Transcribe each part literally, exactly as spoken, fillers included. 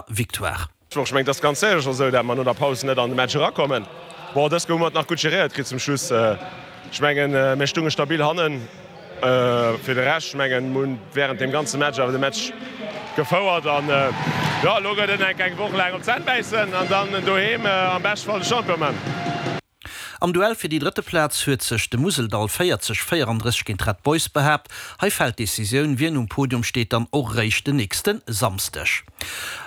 Victoire. Ech mengen, et ass ganz sécher esou, datt mer no der Paus net an de Match erakommen. Bon, dës hu mer et nach gutt geréiert kritt zum Schluss. Ech mengen, mir stounge stabil hannen. Fir de Rescht, ech mengen, mir hunn wärend deem ganze Match awer de Match gefouert. An jo, elo gëtt et enk eng Woch laang op d'Zänn bäissen an dann doheem am beschte Fall de Champion man. Am Duell fir déi drëtte Plaz huet sech de Museldall véierzeg, véierandrësseg géint d'Red Boys behaapt. Hei fält d'Decisioun, wien um Podium steet, dann och réischt den nächste Samsdeg.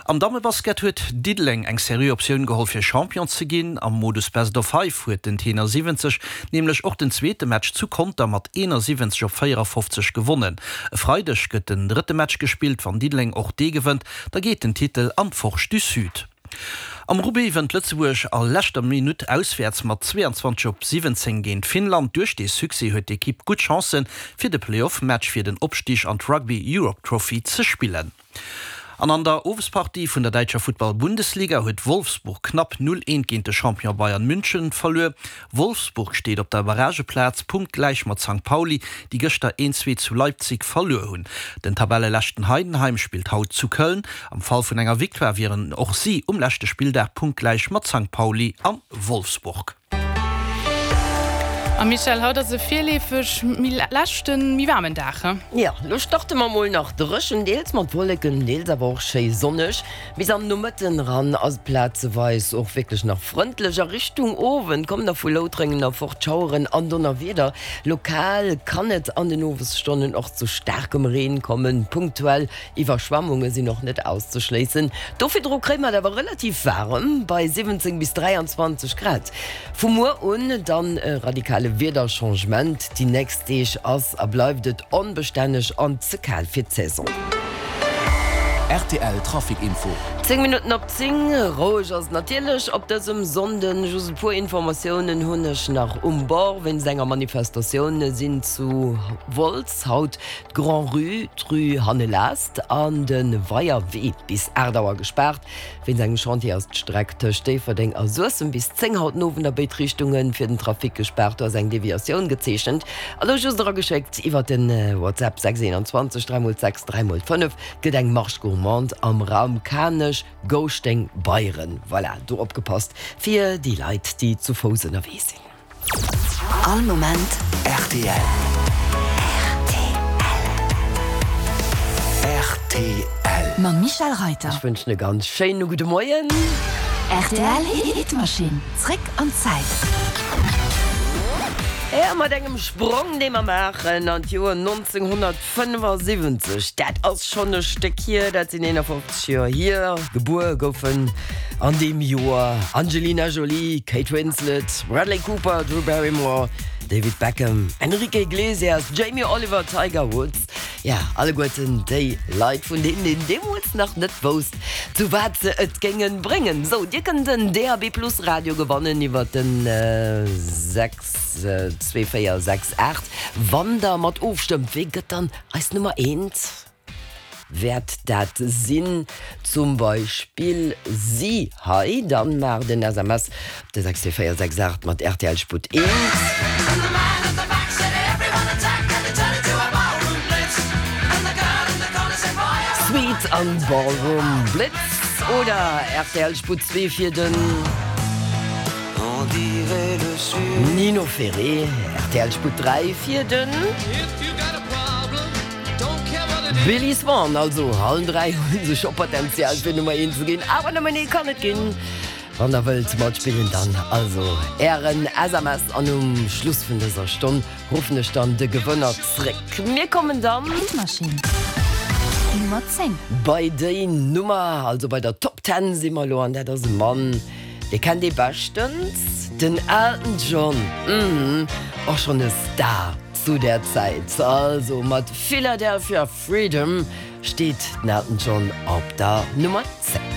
Am Dammebasket huet Diddeleng eng seriö Optioun geholl fir Champion ze ginn. Am Modus Best of Five huet den Tenor siwwenzeg nämlech och den zweete Match zu Conter mat eenasiwwenzeg op véierafofzeg gewonnen. E Freideg gëtt den drëtte Match gespillt. Wann Diddeleng och dee gewënnt, da geet den Titel an d'Forge du Sud. Am Rugby wënnt Lëtzebuerg a leschter Minutt auswäerts mat zweeanzwanzeg op siwwenzéng géint Finnland. Duerch dee Succès huet d'Ekipp gutt Chancen, fir de Playoff-Match fir den Opstig an d'Rugby Europe Trophy ze spillen. An an der Owespartie vun der däitscher Futtball-Bundesliga huet Wolfsburg knapp null eent géint de Champion Bayern München verluer. Wolfsburg steet op der Barrageplaz, punktgläich mat Sankt Pauli, déi gëschter een zwee zu Leipzig verluer hunn. Den Tabelleleschten Heidenheim spillt haut zu Köln. Am Fall vun enger Victoire wieren och si um leschte Spilldag punktgläich mat Sankt Pauli a Wolfsburg. A Michèle, haut ass e virleefeg méi leschten, méi waarmen Dag, he? Jo, lo starte mer mol nach dréchen, deels mat Wolleken, deels awer och schéi sonneg. Bis an den Nomëtten eran ass et plazeweis och wierklech nach frëndlech. A Richtung Owend kommen da vu Loutrengen erfort Schaueren an Donnerwieder. Lokal kann et an den Owesstonnen och zu staarkem Reen kommen, punktuell Iwwerschwemmunge sinn och net auszeschléissen. Do virdru kréie mer et awer relativ waarem bei siwwenzéng bis dräianzwanzeg Grad. Vu muer un dann e radikale Wiederchangement, déi nächst Deeg ass a bleift et onbestänneg an ze kal fir d'Saison. Rtl Trafic Info. Zéng Minutten op zéng, Roueg ass et natierlech op dësem Sonnden. Just e puer Informatiounen hunn ech nach um Bord. Wéinst enger Manifestatioun sinn zu Wolz haut d'Grand-Rue, d'Rue Hannelast an de Weierwee bis aacht Auer gespaart. Wéinst engem Chantier ass d'Streck tëscht Déifferdeng a Suessem bis zéng haut den Owend a béid Richtunge fir den Trafic gespaart. Do ass eng Deviatioun gezeechent. A lo just erageschéckt iwwer de WhatsApp sechs eenanzwanzeg dräi mol sechs dräi mol fënnef gëtt eng Marche gourmande am Raum Kanech, Gouschteng, Beieren. Voilà, do opgepasst fir déi Leit, déi zu Fouss ënnerwee sinn. All Moment rtl. Rtl. Mam Michèle Reiter. Ech wënschen e ganz schéine gudde Moien. Rtl Hitmaschinn, zréck an d'Zäit. Jo, mat engem Sprong, dee mer maachen an d'Joer nonzénghonnertfënnefasiwwenzeg. Dat ass schonn e Stéck hier, dat sinn eenafofzeg Joer hier. Gebuer goufen an deem Joer Angelina Jolie, Kate Winslet, Bradley Cooper, Drew Barrymore, David Beckham, Enrique Iglesias, Jamie Oliver, Tiger Woods, ja, alleguerten déi Leit, vun deenen een deemools nach net wousst, zu wat se et géinge bréngen. Sou, dir kënnt en D A B Plus Radio gewannen iwwer den sechs zwee véier sechs aacht, wann der mat ofstëmmt. Wee gëtt dann eis Nummer eent? Wäert dat sinn zum Beispill si hei? Dann maacht en S M S op de sechs véier sechs aacht mat rtl Sputt eent. Sweet an Ballroom Blitz oder rtl Sputt zwee fir den Nino Ferré, rtl Sputt dräi fir den Billy Swan. Also allen dräi hu se scho Potenzial fir Nummer eent ze ginn, awer nëmmen ee kann et ginn. Wann der wëllt matspillen, dann also ären S M S an um Schluss vun dëser Stonn ruffen ech dann de Gewënner zréck. Mir kommen dann. Hitmaschinn Nummer zéng. Bei déi Nummer, also bei der Top Ten si mer elo an dat ass e Mann, dee kennt ee beschtens, den Elton John, mhm, och schonn e Star zu där Zäit. Also mat Philadelphia Freedom steet den Elton John op der Nummer zéng.